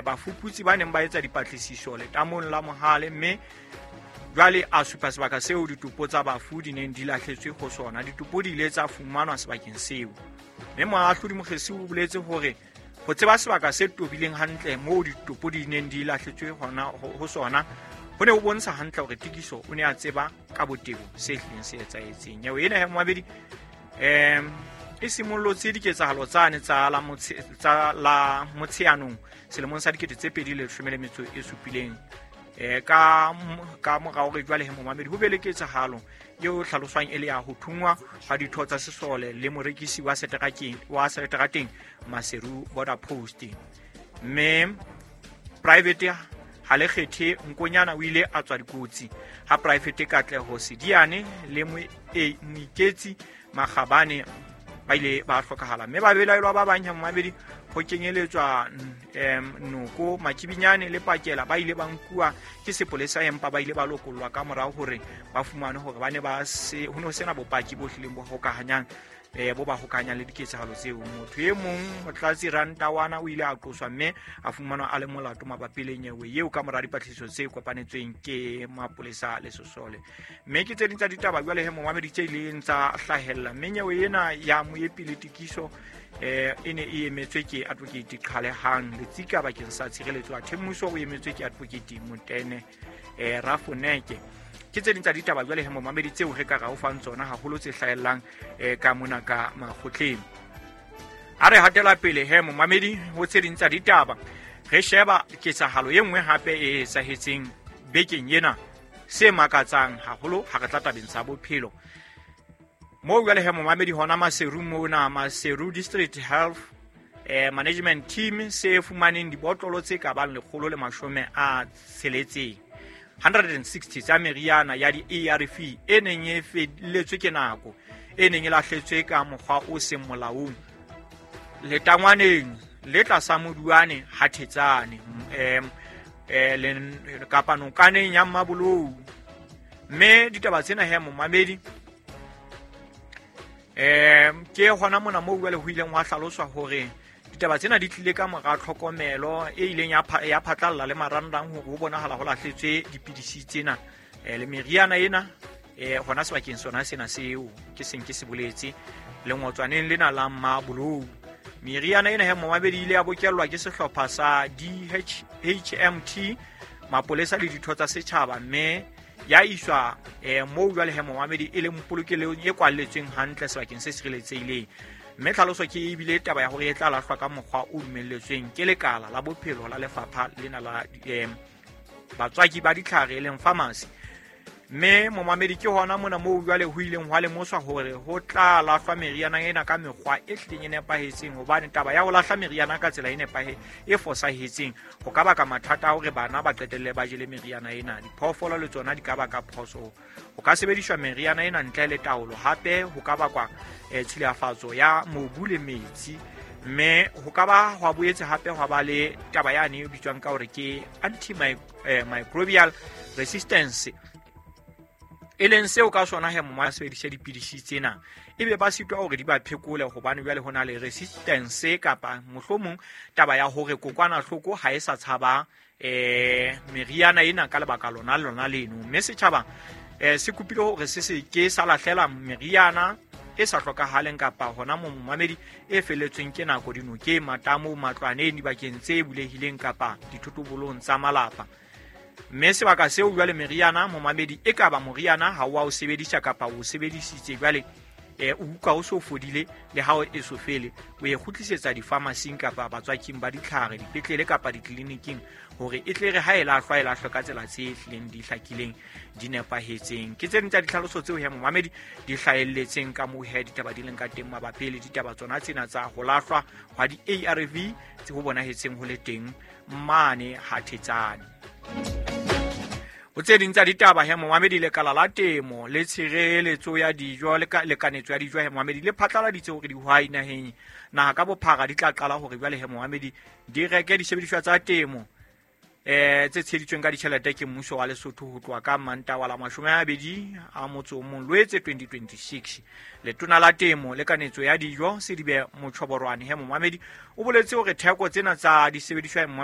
Bafuputsi ba neng ba etsa dipatlisiso letamong la Mohale, mme jwale a supa sebaka seo ditopo tsa bafu di neng di lahletswe ho sona. Ditopo di ile tsa fumanwa sebakeng seo, mme moahlodi Mokgesi o boletse hore ho tseba sebaka se tobileng hantle moo ditopo di neng di lahletswe hona ho sona ho ne ho bontsha hantle hore Tikiso o ne a tseba ka botebo se hlileng se etsahetseng. Nyewe ena ya momabedi e simollotse diketsahalo tsane tsa la Motsheanong selemong sa 2017, ka mora hore jwale he momamedi ho be le ketsahalo eo hlaloswang e le ya ho thungwa ga ditho tsa sesole le morekisi wa seterateng Maseru Border Post. Mme Private Halekgethe Nkonyana o ile a tswa dikotsi ha Private Katleho Sediane le Moiketsi Makgabane ba ile ba hlokahala, mme babelaelwa ba bang momamedi ho kenyeletswa Noko Makibinyane le Pakela ba ile ba nkuwa ke sepolesa, empa ba ile ba lokollwa ka morao hore ba fumane hore ba ne ba se ho ne ho sena bopaki bo hlileng bo hokahanyang bo ba hokahanyang le diketsahalo tseo. Motho e mong, Motlatsi Rantawana, o ile a qoswa mme a fumanwa a le molato mabapi le nyewe eo ka mora dipatlisiso tse kopanetsweng ke mapolesa le sesole. Mme ke tse ding tsa ditaba jwale he momamedi tse ileng tsa hlahella. Mme nyewe ena ya Moepi le Tikiso e ne e emetswe ke Advocate Qhalehang Letsika bakeng sa tshireletso, athe mmuso o emetswe ke Advocate Motene Rafoneke. Ke tse ding tsa ditaba jwale he momamedi tseo re ka ra o fang tsona haholo tse hlahellang ka mona ka makgotleng. A re hatela pele he momamedi ho tse ding tsa ditaba, re sheba ketsahalo e nngwe hape e etsahetseng bekeng ena se makatsang haholo ha re tla tabeng tsa bophelo. Moo jwale he momamedi hona Maseru mona, Maseru District Health Management Team se fumaneng dibotlolo tse ka bang 160 160 tsa meriana ya di-ARV e neng e felletswe ke nako, e neng e lahletswe ka mokgwa o seng molaong letangwaneng le tlasa Moduane ha Thetsane kapa nokaneng ya Mmabolou. Mme ditaba tsena he momamedi ke hona mona moo jwale ho ileng hwa hlaloswa hore ditaba tsena di tlile ka mora tlhokomelo e ileng ya phatlalla le marangrang hore ho bonahala ho lahletswe dipidisi tsena le meriana ena hona sebakeng sona sena seo ke seng ke se boletse lengotswaneng lena la Mmabolou. Meriana ena he momamedi ile ya bokellwa ke sehlopha sa DHMT, mapolesa le ditho tsa setjhaba, mme ya iswa moo jwale he momamedi e leng polokelong e kwalletsweng hantle sebakeng se sireletsehileng. Mme tlhaloso ke ebile taba ya hore e tla lahlwa ka mokgwa o dumelletsweng ke lekala la bophelo la lefapha lena la batswaki ba ditlhare e leng pharmacy. Mme momamedi ke hona mona moo jwale ho ileng hwa lemoswa hore ho tla lahlwa meriana ena ka mekgwa e hlileng e nepahetseng, hobane taba ya ho lahla meriana ka tsela e e fosahetseng ho ka baka mathata a hore bana ba qetelle ba jele meriana ena. Diphoofolo le tsona di ka baka phoso. Ho ka sebediswa meriana ena ntle le taolo, hape ho ka bakwa tshilafatso ya mobu le metsi, mme ho ka ba hwa boetse hape hwa ba le taba yane e bitswang ka hore ke antimicrobial resistance, e leng seo ka sona he moma sebedisa dipidisi tsena ebe ba sitwa hore di ba phekole, hobane jwale ho na le resistance kapa mohlomong taba ya hore kokwanahloko ha e sa tshaba meriana ena ka lebaka lona lona leno. Mme setjhaba se kopile hore se se ke sa lahlela meriana e sa hlokahaleng kapa hona momamedi e felletsweng ke nako dinokeng, matamo, matlwaneng, dibakeng tse bulehileng kapa dithotobolong tsa malapa. Mme sebaka seo jwale meriana momamedi e kaba moriana ha wa o sebedisa kapa o sebedisitse jwale o utlwa o so fodile le ha o eso fele, o e kgutlisetsa di-pharmacy kapa batswaking ba ditlhare dipetlele kapa ditleliniking hore e tle re ha e lahlwa e lahlwe ka tsela tse hlileng di hlakileng di nepahetseng. Ke tse ding tsa ditlhaloso tseo he momamedi di hlahelletseng ka moo he ditaba di leng ka teng mabapi le ditaba tsona tsena tsa ho lahlwa hwa di-ARV tse ho bonahetseng ho le teng mane ha Thetsane. Ho tse ding tsa ditaba he momamedi, lekala la temo le tshireletso ya dijo le lekanetso ya dijo he momamedi le phatlaladitse hore dihwai naheng naha ka bophara di tla qala hore jwale he momamedi di reke disebediswa tsa temo tse tsheheditsweng ka ditjhelete ke mmuso wa Lesotho ho tloha ka Mantaha wa la 21 Loetse 2026. Letona la temo le kanetso ya dijo Sedibe Mochoborwane he momamedi o boletse hore theko tsena tsa disebediswa